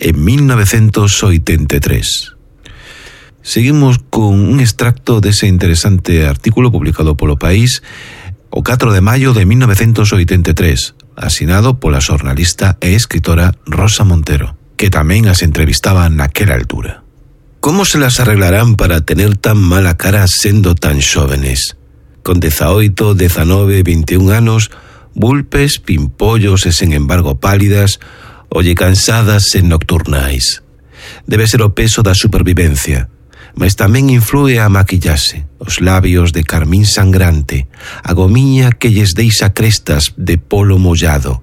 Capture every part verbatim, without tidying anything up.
en mil novecientos oitenta e tres. Seguimos con un extracto dese interesante artículo publicado polo País o catro de maio de mil novecientos oitenta e tres, asinado pola xornalista e escritora Rosa Montero, que tamén as entrevistaba naquela altura. Como se las arreglarán para tener tan mala cara sendo tan xóvenes? Con dezaoito, dezanove, vinte e un anos, vulpes, pimpollos e sen embargo pálidas, olle cansadas e nocturnais. Debe ser o peso da supervivencia, mas tamén influe a maquillaxe, os labios de carmín sangrante, a gomiña que lles deixa crestas de polo mollado,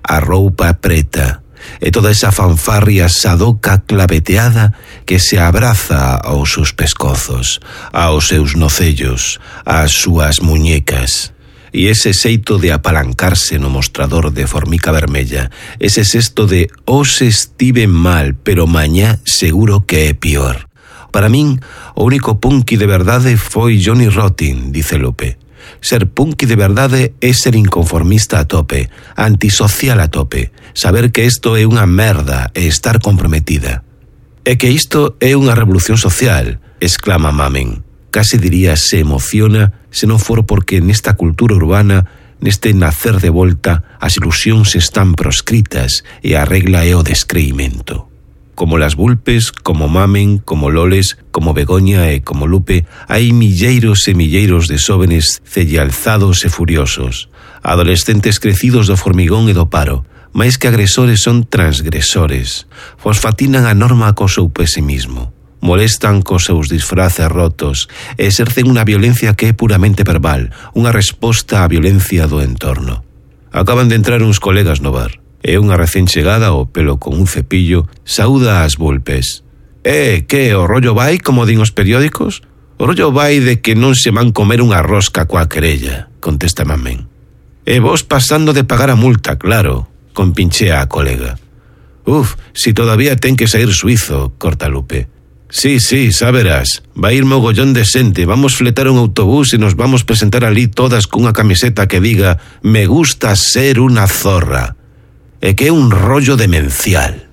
a roupa preta, e toda esa fanfarria sadoca claveteada que se abraza aos seus pescozos, aos seus nocellos, ás súas muñecas. E ese xeito de apalancarse no mostrador de formica vermella, ese xesto de hoxe estiven mal, pero mañá seguro que é pior. Para min, o único punky de verdade foi Johnny Rotten, dice Lupe. Ser punky de verdade é ser inconformista a tope, antisocial a tope, saber que isto é unha merda e estar comprometida. E que isto é unha revolución social, exclama Mamen. Casi diría se emociona se non for porque nesta cultura urbana, neste nacer de volta, as ilusións están proscritas e a regla é o descreimento. Como las vulpes, como Mamen, como Loles, como Begoña e como Lupe, hai milleiros e milleiros de xóvenes cellalzados e furiosos, adolescentes crecidos do formigón e do paro, máis que agresores son transgresores, fosfatinan a norma co seu pesimismo, molestan cos seus disfraces rotos e exercen unha violencia que é puramente verbal, unha resposta á violencia do entorno. Acaban de entrar uns colegas no bar. E unha recén chegada ao pelo con un cepillo saúda ás vulpes. Eh, que, o rollo vai, como din os periódicos? O rollo vai de que non se van comer unha rosca coa querella, contesta Mamen. E vos pasando de pagar a multa, claro, compinchea a colega. Uf, si todavía ten que sair suizo, corta Lupe. Sí, sí, saberás, vai ir mogollón de xente, vamos fletar un autobús e nos vamos presentar ali todas cunha camiseta que diga «Me gusta ser unha zorra». E que é un rollo demencial.